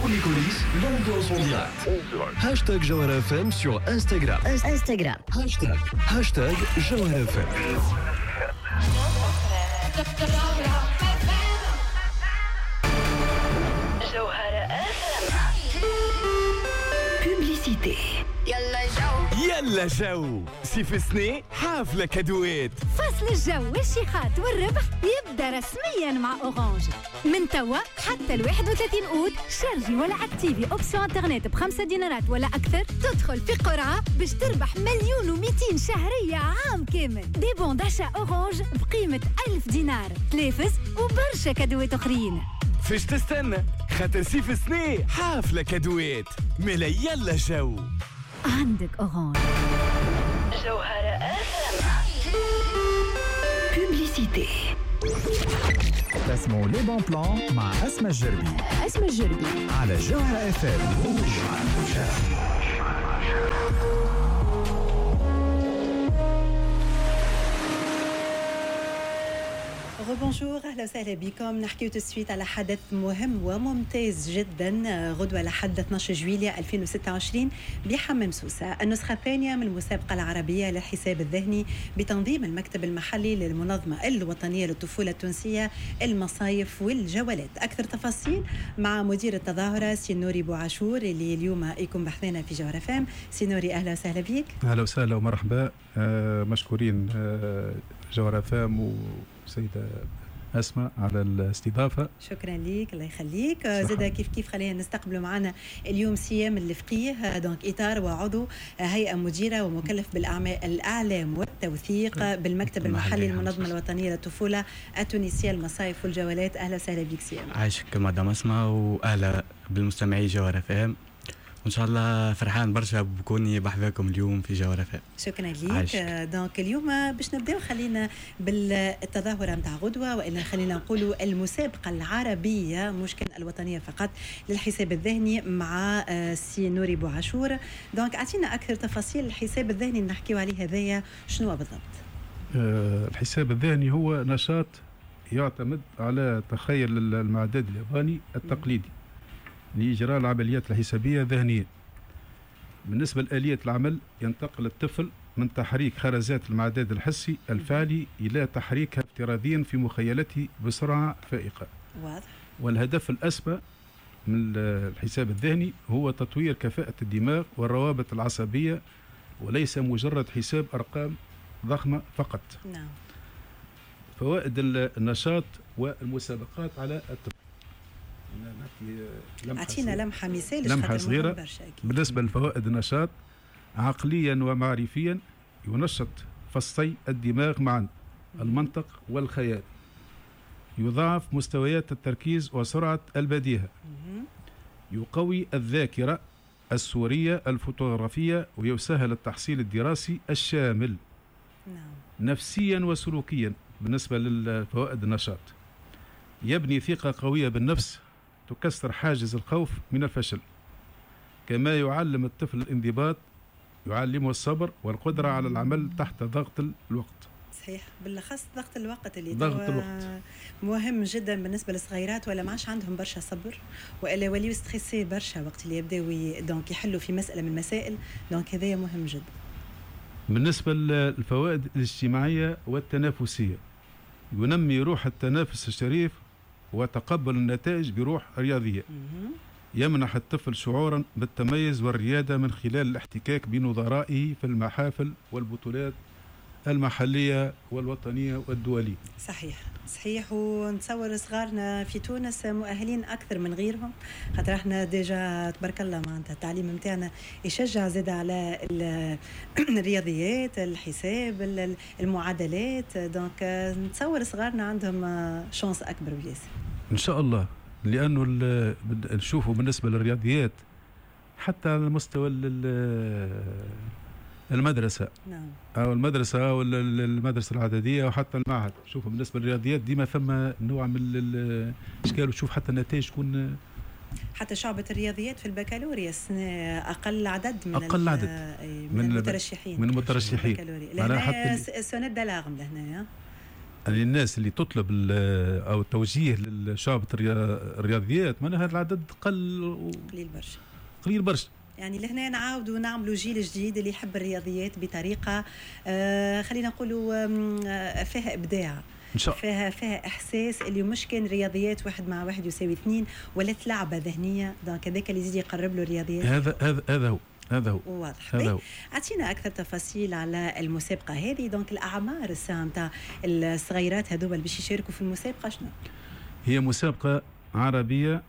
Pour les coulisses, l'ambiance en direct. Hashtag Jawhara FM sur Instagram. Instagram. Hashtag, hashtag Jawhara FM. جوهرة Publicité. يلا جو، يلا جو، صيف السنة حافلة كادوات. فصل الجو والشيخات والربح يبدا رسميا مع Orange. من توا حتى ال 31 اوت شارجي ولا activer option internet ب5 دينارات ولا اكثر، تدخل في قرعه باش تربح 1,2 مليون شهرية عام كامل، des bons d'achat Orange بقيمة 1000 دينار، تلافز وبرشا كادوات اخرين. فاش تستنى؟ خاطر صيف السنة حافلة كادوات، ملا يلا جو. عندك Orange. جوهرة Publicité. تسمعوا les bons plans مع أسماء الجربي. أسماء الجربي. على جوهرة FM. Rebonjour، اهلا وسهلا بكم. نحكيو tout de suite على حدث مهم وممتاز جدا، غدوه لحد 12 جويليا 2026 بحمام سوسه، النسخة الثانية من المسابقة العربية للحساب الذهني بتنظيم المكتب المحلي للمنظمة الوطنية للطفوله التونسية المصايف والجولات. اكثر تفاصيل مع مدير التظاهرة سي نوري بوعاشور اللي اليوم يكون بحذانا في جوهرة FM. سي نوري، اهلا وسهلا بك. اهلا وسهلا ومرحبا، مشكورين جوهرة FM وسيدة أسماء على الاستضافة. شكرا لك، الله يخليك. زاد كيف كيف خلينا نستقبلوا معنا اليوم سيام الفقيه، donc إطار وعضو هيئة مديرة ومكلف بالأعمال الإعلام والتوثيق بالمكتب المحلي للمنظمة الوطنية للطفولة التونسية المصايف والجولات. أهلا وسهلا بك سيام. عايشك مدام أسماء، وأهلا بالمستمعين جوهرة FM، وان شاء الله فرحان برشا بكوني بحذاكم اليوم في جوهرة FM. شكرا لك. donc اليوم باش نبداو خلينا بالتظاهره نتاع غدوه، والا خلينا نقولوا المسابقة العربيه، مش كان الوطنية فقط، للحساب الذهني مع سي نوري بوعاشور. donc اعطينا اكثر تفاصيل الحساب الذهني اللي نحكيو عليه هذايا، شنو بالضبط؟ الحساب الذهني هو نشاط يعتمد على تخيل المعداد الياباني التقليدي لإجراء العمليات الحسابية ذهنيا. بالنسبة لآلية العمل، ينتقل الطفل من تحريك خرزات المعداد الحسي الفعلي إلى تحريكها افتراضيا في مخيلته بسرعة فائقة. والهدف الأسمى من الحساب الذهني هو تطوير كفاءة الدماغ والروابط العصبية، وليس مجرد حساب أرقام ضخمة فقط. فوائد النشاط والمسابقات على الطفل. اعطينا لمحه مثال. لمحه صغيره. بالنسبة لفوائد النشاط، عقليا ومعرفيا ينشط فصي الدماغ معا، المنطق والخيال، يضاعف مستويات التركيز وسرعة البديهه، يقوي الذاكرة الصوريه الفوتوغرافيه، ويسهل التحصيل الدراسي الشامل. نفسيا وسلوكيا، بالنسبة للفوائد النشاط، يبني ثقة قوية بالنفس تكسر حاجز الخوف من الفشل، كما يعلم الطفل الانضباط، يعلمه الصبر والقدرة على العمل تحت ضغط الوقت. صحيح، بالاخص ضغط الوقت اللي ضغط الوقت مهم جدا بالنسبة للصغيرات، ولا ما عادش عندهم برشا صبر والا يوليو stressés برشا وقت اللي يبداو donc يحلوا في مسالة من المسائل، donc هذايا مهم جدا. بالنسبة للفوائد الاجتماعية والتنافسيه، ينمي روح التنافس الشريف وتقبل النتائج بروح رياضيه. يمنح الطفل شعورا بالتميز والرياده من خلال الاحتكاك بنظرائه في المحافل والبطولات المحلية والوطنيه والدوليه. صحيح، ونتصور صغارنا في تونس مؤهلين اكثر من غيرهم، خاطر احنا déjà تبارك الله معناتها التعليم نتاعنا يشجع زاد على الرياضيات، الحساب، المعادلات، donc نتصور صغارنا عندهم chance اكبر بياسر. ان شاء الله، لانه نشوفوا بالنسبة للرياضيات حتى على مستوى المدرسة او المدرسة او المدرسة الإعدادية او حتى المعهد، شوفوا بالنسبة للرياضيات ديما ثم نوع من الاشكال، وتشوف حتى النتائج تكون حتى شعبة الرياضيات في البكالوريا السنة أقل عدد من أقل عدد من المترشحين. من المترشحين. لهنا sonnette d'alarme لهنا. يعني الناس اللي تطلب او التوجيه لشعبة الرياضيات معناها هذا العدد قل، قليل برشا، قليل برشا. يعني لهنا نعاودوا نعملوا جيل جديد اللي يحب الرياضيات بطريقة خلينا نقولوا فيها ابداع، إن شاء فيها احساس اللي مش كان رياضيات 1 مع 1 يساوي 2 ولا لعبه ذهنية. donc هذاك اللي يزيد يقرب له الرياضيات. هذا هو واضح. اعطينا اكثر تفاصيل على المسابقة هذه. donc الاعمار الساعة نتاع الصغيرات هذوما اللي باش يشاركوا في المسابقة شنو؟ هي مسابقة عربية،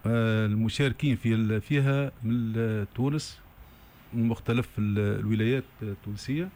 المشاركين فيها من تونس، من مختلف الولايات التونسية،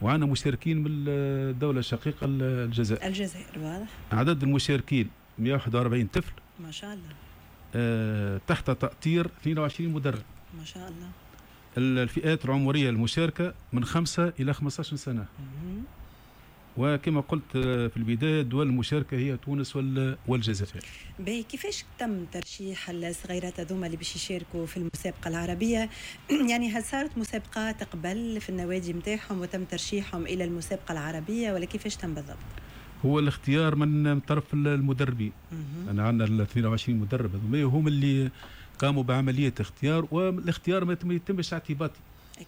وعندنا مشاركين من الدولة الشقيقة الجزائر. الجزائر، واضح. عدد المشاركين 141 طفل ما شاء الله، تحت تأطير 22 مدرب ما شاء الله. الفئات العمرية المشاركة من 5 إلى 15 سنة. وكما قلت في البداية الدول المشاركة هي تونس والجزائر. باهي، كيفاش تم ترشيح الصغيرات هذوما اللي باش يشاركوا في المسابقة العربية؟ يعني هل صارت مسابقات قبل في النوادي نتاعهم وتم ترشيحهم إلى المسابقة العربية ولا كيفاش تم بالضبط؟ هو الاختيار من طرف المدربين. أنا عندنا 22 مدرب هذوما هم اللي قاموا بعملية اختيار، والاختيار ما يتمش اعتباطي.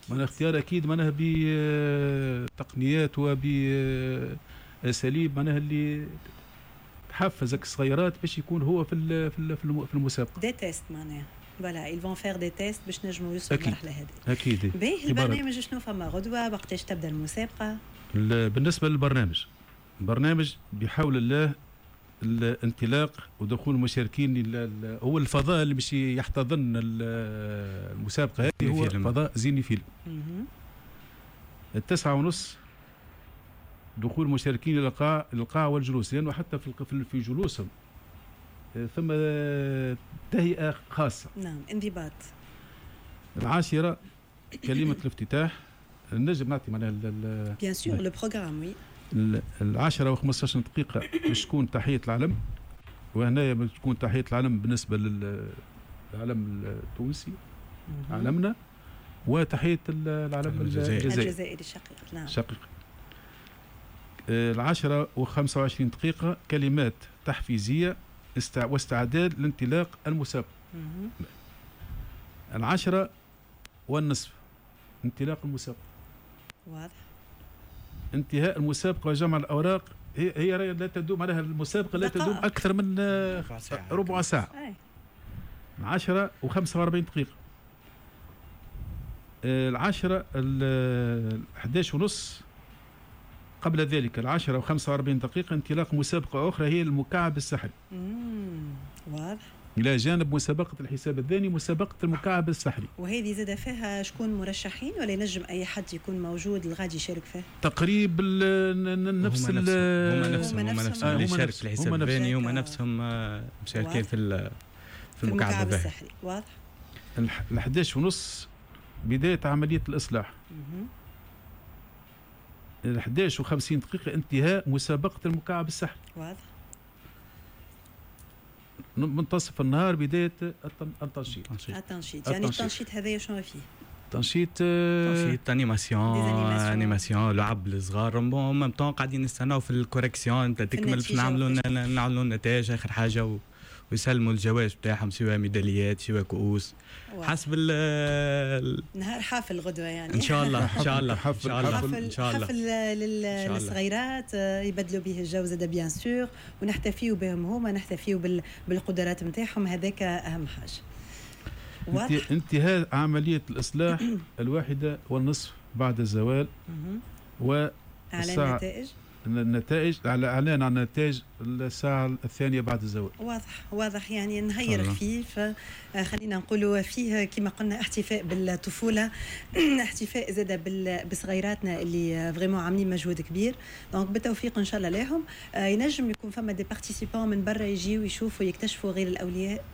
معناها اختيار اكيد معناها بتقنيات وباساليب معناها اللي تحفزك الصغيرات باش يكون هو في في المسابقة. des tests معناها، voilà ils vont faire des tests باش نجموا يوصلوا للمرحلة هذه. اكيد. باهي، البرنامج شنو فما غدوه؟ وقتاش تبدا المسابقة؟ بالنسبة للبرنامج، البرنامج بحول الله الانطلاق ودخول المشاركين هو الفضاء اللي باش يحتضن المسابقة هذه هو فضاء زيني فيلم. 9:30 دخول المشاركين الى القاعة والجلوس، لانه حتى في جلوسهم ثم تهيئة خاصة. نعم، انضباط. 10 كلمة الافتتاح، نجم نعطي معناها bien sûr le programme. oui. 10:15 باش تكون تحية العلم، وهنا باش تكون تحية العلم بالنسبة للعلم التونسي علمنا، وتحية العلم الجزائري الشقيق. نعم الشقيق. 10:25 كلمات تحفيزية واستعداد لانطلاق المسابقة. 10:30 انطلاق المسابقة. واضح. انتهاء المسابقة وجمع الأوراق، هي لا تدوم عليها المسابقة، لا تدوم أكثر من ربع ساعة. 10:45. 11:30 قبل ذلك 10:45 انطلاق مسابقة أخرى هي المكعب السحري. واضح. إلى جانب مسابقة الحساب الذهني مسابقة المكعب السحري. وهذه زاد فيها شكون مرشحين ولا ينجم أي حد يكون موجود الغادي يشارك فيه؟ تقريبا نفس هما نفسهم اللي يشارك في الحساب الذهني هما نفسهم مشاركين في المكعب السحري. واضح. 11:30 بداية عملية الإصلاح. 11:50 انتهاء مسابقة المكعب السحري. واضح. منتصف النهار بداية التنشيط. التنشيط يعني التنشيط هذايا شنو فيه؟ تنشيط animation لعب للصغار، en même temps قاعدين نستناو في ال correction تكمل باش نعملوا النتائج اخر حاجة ويسلموا الجوائز بتاعهم، سواء ميداليات سواء كؤوس حسب نهار حافل غدوه يعني ان شاء الله ان شاء الله حفل ان شاء الله حفل للصغيرات يبدلوا به الجو زاد bien sûr، ونحتفيوا بهم هما، نحتفيوا بالقدرات نتاعهم، هذاك اهم حاجة. انتهاء عملية الاصلاح 1:30 بعد الزوال، و النتائج النتائج على اعلان عن النتائج الساعة 2 بعد الزوال. واضح واضح يعني نهير خفيف، خلينا نقولوا فيه كما قلنا احتفاء بالطفولة، احتفاء زاد بصغيراتنا اللي vraiment عاملين مجهود كبير، donc بالتوفيق ان شاء الله لهم. ينجم يكون فما des participants من برا يجيو يشوفوا يكتشفوا غير الاولياء.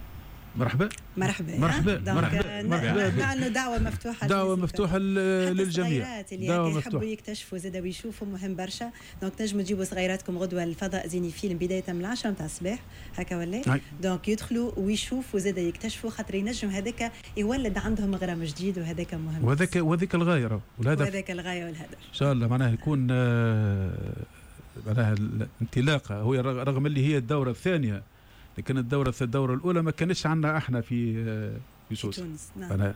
مرحبا مرحبا مرحبا مرحبا مرحبا، نعلنوا دعوة مفتوحة، دعوة مفتوحة للجميع، اللي يحبوا يكتشفوا زاد ويشوفوا، مهم برشا. donc تنجموا تجيبوا صغيراتكم غدوة الفضاء زيني فيلم بداية من 10 نتاع الصباح هكا ولا، donc يدخلوا ويشوفوا زاد يكتشفوا، خاطر ينجم هذاك يولد عندهم غرام جديد، وهذاك مهم، وهذاك الغاية والهدف، وهذاك الغاية والهدف إن شاء الله. معناها يكون معناها الانطلاقة، هو رغم اللي هي الدورة الثانية، لكن الدورة الاولى ما كانتش عندنا احنا في سوسة. نعم.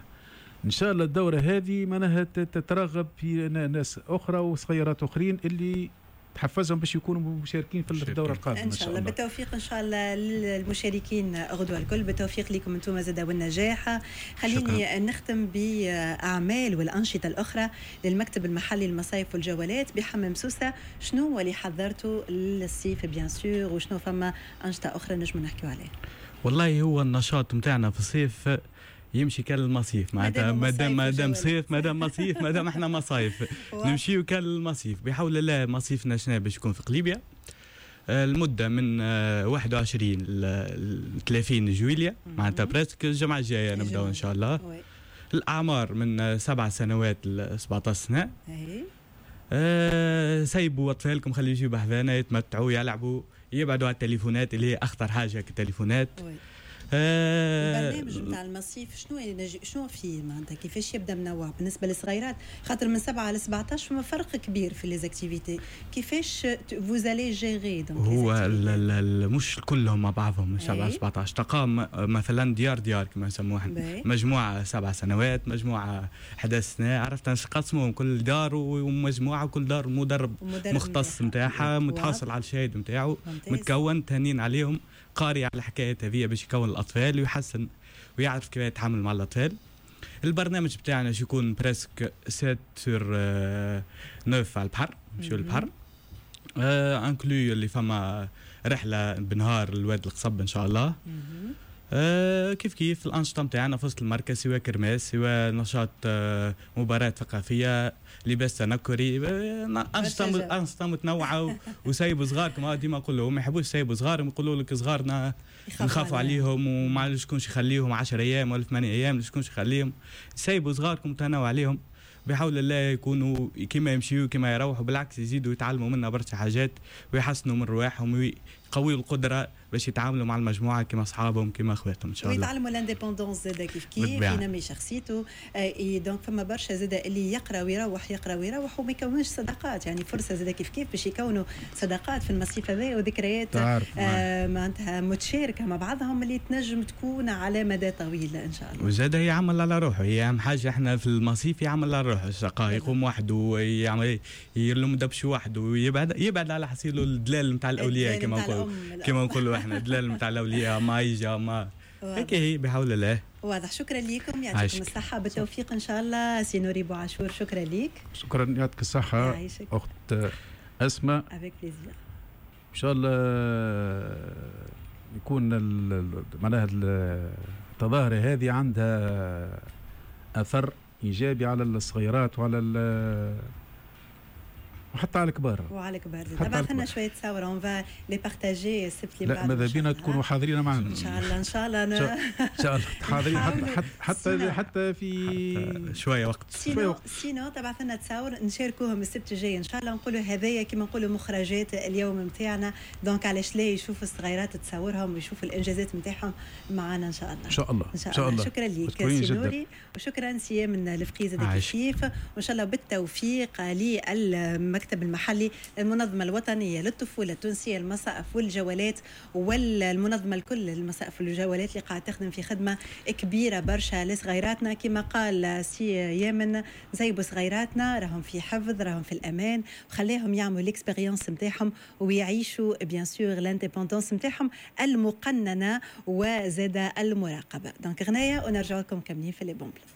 ان شاء الله الدورة هذه معناها تترغب في ناس اخرى وصغيرات اخرين اللي تحفزهم باش يكونوا مشاركين في الدورة القادمة ان شاء الله. بالتوفيق ان شاء الله للمشاركين غدوه الكل، بالتوفيق لكم انتم زاد والنجاح. خليني شكرا. نختم باعمال والانشطه الاخرى للمكتب المحلي للمصايف والجولات بحمام سوسة. شنو هو اللي حضرته للصيف bien sûr، وشنو فما انشطة اخرى نجم نحكيو عليها؟ والله هو النشاط نتاعنا في الصيف يمشي كان المصيف، معناتها مادام صيف مادام مصيف مادام احنا مصايف نمشيو كان المصيف. بحول الله مصيفنا شنو باش يكون في قليبيا، المدة من 21 ل 30 جويليا، معناتها presque الجمعة الجاية نبداو ان شاء الله. الاعمار من 7 سنوات ل 17 سنة. سيبوا اطفالكم، خلي يجيو بحذانا يتمتعوا يلعبوا، يبعدوا على التليفونات اللي هي اخطر حاجة كالتليفونات. البرنامج نتاع المصيف شنو فيه معناتها كيفاش يبدا منوع بالنسبة للصغيرات؟ خاطر من 7 ل 17 فما فرق كبير في les activités، كيفاش vous allez gérer؟ هو مش كلهم مع بعضهم من 7 ل 17 تقام مثلا ديار كما نسموها، مجموعة 7 سنوات، مجموعة 11 سنة، عرفت نقسمهم كل دار ومجموعة، وكل دار مدرب مختص نتاعها متحصل على الشهادة نتاعو، متكون تهنين عليهم، قاري على الحكاية هذه باش يكون الأطفال ويحسن ويعرف كيف يتعامل مع الأطفال. البرنامج بتاعنا باش يكون presque 7 sur 9 على البحر، نمشيو للبحر inclus اللي فما رحلة بنهار لواد القصب إن شاء الله. كيف كيف الأنشطة متاعنا في وسط المركز، سواء kermesse، سواء نشاط مباراة ثقافية، لباس تنكري، أنشطة متنوعة. وسايبوا صغاركم، ديما نقول لهم ما يحبوش يسيبوا صغارهم، يقولوا لك صغارنا نخافوا عليهم وما شكونش يخليهم 10 أيام ولا 8 أيام، شكونش يخليهم. سايبوا صغاركم، تنوع عليهم، بحول الله يكونوا كما يمشيوا كما يروحوا، بالعكس يزيدوا يتعلموا منا برشا حاجات ويحسنوا من رواحهم ويقويوا القدرة باش يتعاملوا مع المجموعة كما اصحابهم كما اخواتهم ان شاء الله، ويتعلموا l'indépendance زاده كيف كيف ينمي شخصيته. donc فما برشا زاده اللي يقرا ويروح يقرا ويروح وما يكونش صداقات، يعني فرصة زاده كيف كيف باش يكونوا صداقات في المصيف هذا وذكريات معناتها متشاركه مع بعضهم اللي تنجم تكون على مدى طويل ان شاء الله. وزاده يعمل على روحه، هي اهم حاجة احنا في المصيف يعمل على روحه، الشقاء يقوم وحده ويعمل يلم دبش وحده ويبعد يبعد على حصيله الدلال نتاع الاولياء كما نقولوا احنا الدلال نتاع الاولياء ما يجي ما هيك هي بحول الله. واضح. شكرا لكم، يعطيكم الصحة، بالتوفيق إن شاء الله. سي نوري بوعاشور شكرا لك. شكرا، يعطيك الصحة أخت أسماء. avec plaisir. إن شاء الله يكون معناها التظاهرة هذه عندها أثر إيجابي على الصغيرات وعلى وحتى على الكبار. وعلى الكبار. تبعث لنا شوية تصاور on va les partager السبت اللي بعد. لا ماذا بينا تكونوا حاضرين معنا. ان شاء الله ان شاء الله انا ان شاء الله حاضرين حتى في شوية وقت. sinon تبعث لنا تصاور نشاركوهم السبت الجاي ان شاء الله، نقولوا هذايا كما نقولوا مخرجات اليوم نتاعنا، donc علاش لا يشوفوا الصغيرات تصورهم ويشوفوا الانجازات نتاعهم معنا ان شاء الله. ان شاء الله ان شاء الله. شكرا لك سي نوري، وشكرا سي من الفقيه زاد كيف، وان شاء الله بالتوفيق للمكتب المحلي المنظمة الوطنية للطفولة التونسية المصائف والجولات، والمنظمة الكل المصائف والجولات اللي قاعدة تخدم في خدمة كبيرة برشا لصغيراتنا. كما قال سي يامن، زيبوا صغيراتنا راهم في حفظ، راهم في الأمان، وخليهم يعملوا l'expérience نتاعهم ويعيشوا bien sûr l'indépendance نتاعهم المقننة وزاد المراقبة. donc غناية ونرجع لكم كاملين في les bons plans.